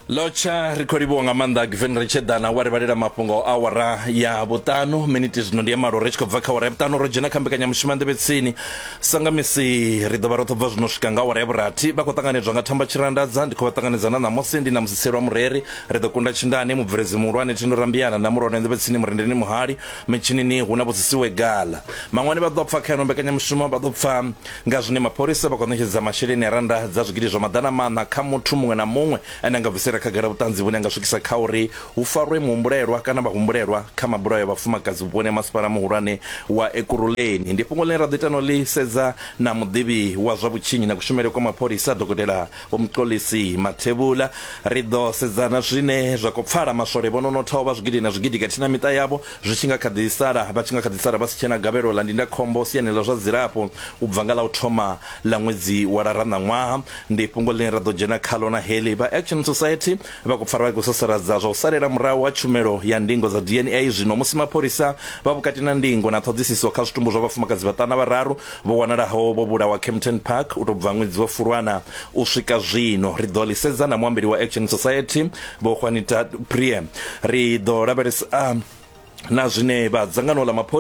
Lotsha ri khou livhuwa nga maanḓa Given Ritsheḓana wa ri vhalela mafhungo a awara ya vhuṱanu miniti zwino ndi ya malo ri tshi khou bva kha awara ya vhuṱanu ro dzhena kha mbekanyamushumo ya nḓevhe tsini sa nga misi ri ḓo vha ro ṱo bva zwino swika nga awara ya vhurathi vha khou ṱanganedzwa nga thamba tshirandadza ndi khou vha ṱanganedza na ṋamusi ndi na musiselo wa mureri ri ḓo kunda tshindane mubveledzi muhulwane Thendo Rambiana na muhulwane nḓevhe tsini murendeni muhali mitshinini hu na vhudzisiwe gala maṅwani vha ḓo pfa kha ino mbekanyamushumo vha ḓo pfa Nga zwine mapholisa vha khou ṋetshedza masheleni a rannda dza zwigidi zwa maḓana maṋa kha muthu muṅwe na muṅwe ane a nga bvisela khagala vhuṱanzi vhune ha nga swikisa kha uri hu farwe muhumbulelwa kana vhahumbulelwa kha mabulayo a vhafumakadzi vhuponi ha masipala muhulwane wa Ekurhuleni. Ndi fhungo ḽine ra ḓo ita no ḽi sedza na muḓivhi wa zwa vhutshinyi na kushumele kwa mapholisa Dokotela Vho Mxolisi Mathebula. Ri ḓo sedza na zwine zwa khou pfala maswole vho no nothaho vha zwigidi na zwigidi khathihi na miṱa yavho zwi tshi nga kha ḓi sala vha tshi nga kha ḓi sala vha si tshena gavhelo ḽa ndindakhombo siani ḽa zwa dzilafho u bva nga ḽa u thoma ḽa ṅwedzi wa Lara ṋaṅwaha. Ndi fhungo ḽine ra ḓo dzhena khaḽo na heḽi. Vha Action Society vha khou pfala vha khou sasaladza zwa u salela murahu ha tshumelo ya ndingo dza DNA zwino musi mapholisa vha vhukati na ndingo na ṱhoḓisiso kha zwitumbu zwa vhafumakadzi vhaṱana vhararu vho wanalaho vho vhulawa Kempton Park u tou bva ṅwedzi wa Fulwana u swika zwino. Ri ḓo ḽi sedza na muambeli wa Action Society Vho Juanita Prie. Ri ḓo lavhelesa na zwine vha dzangano ḽa mapholisa